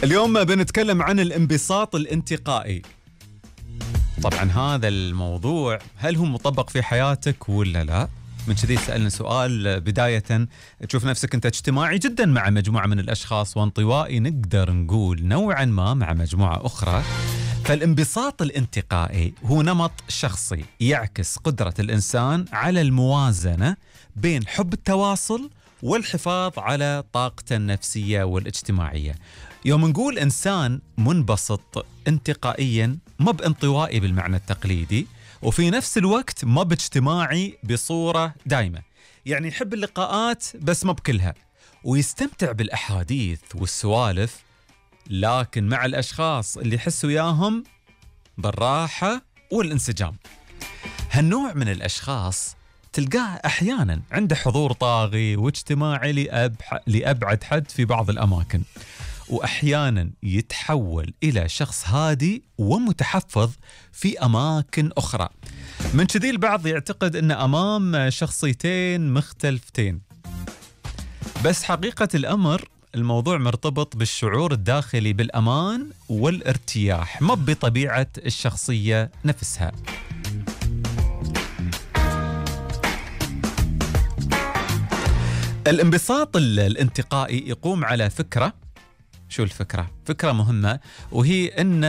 اليوم بنتكلم عن الانبساط الانتقائي. طبعا هذا الموضوع هل هو مطبق في حياتك ولا لا؟ من كذي سألنا سؤال بداية، تشوف نفسك أنت اجتماعي جدا مع مجموعة من الأشخاص وانطوائي نقدر نقول نوعا ما مع مجموعة أخرى. فالانبساط الانتقائي هو نمط شخصي يعكس قدرة الإنسان على الموازنة بين حب التواصل والحفاظ على طاقته النفسية والاجتماعية. يوم نقول إنسان منبسط انتقائيا ما بانطوائي بالمعنى التقليدي، وفي نفس الوقت ما باجتماعي بصورة دائمة، يعني يحب اللقاءات بس ما بكلها، ويستمتع بالأحاديث والسوالف، لكن مع الأشخاص اللي يحس وياهم بالراحة والانسجام. هالنوع من الأشخاص تلقاه أحيانا عنده حضور طاغي واجتماعي لأبعد حد في بعض الأماكن، وأحيانا يتحول إلى شخص هادي ومتحفظ في أماكن أخرى. من كذي البعض يعتقد أن أمام شخصيتين مختلفتين، بس حقيقة الأمر الموضوع مرتبط بالشعور الداخلي بالأمان والارتياح، ما بطبيعة الشخصية نفسها. الانبساط الانتقائي يقوم على فكرة، شو الفكرة؟ فكرة مهمة، وهي أن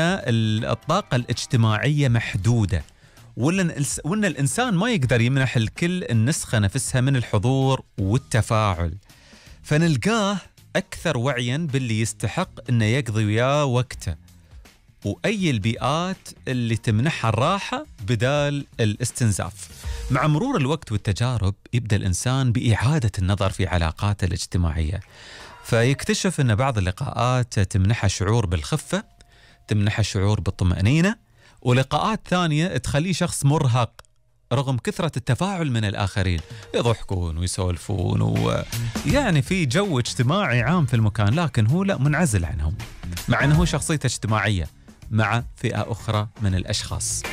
الطاقة الاجتماعية محدودة، وأن الإنسان ما يقدر يمنح الكل النسخة نفسها من الحضور والتفاعل، فنلقاه أكثر وعياً باللي يستحق أنه يقضي وياه وقته، وأي البيئات اللي تمنحها الراحة بدال الاستنزاف. مع مرور الوقت والتجارب يبدأ الإنسان بإعادة النظر في علاقاته الاجتماعية، فيكتشف أن بعض اللقاءات تمنحه شعور بالخفة، تمنحه شعور بالطمأنينة، ولقاءات ثانية تخليه شخص مرهق رغم كثرة التفاعل من الآخرين، يضحكون ويسولفون ويعني في جو اجتماعي عام في المكان، لكن هو لا، منعزل عنهم، مع أنه شخصيته اجتماعية مع فئة أخرى من الأشخاص.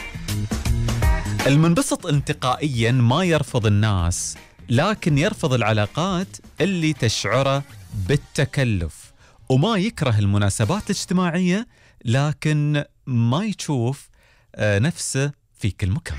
المنبسط انتقائيا ما يرفض الناس، لكن يرفض العلاقات اللي تشعره بالتكلف، وما يكره المناسبات الاجتماعية، لكن ما يشوف نفسه في كل مكان.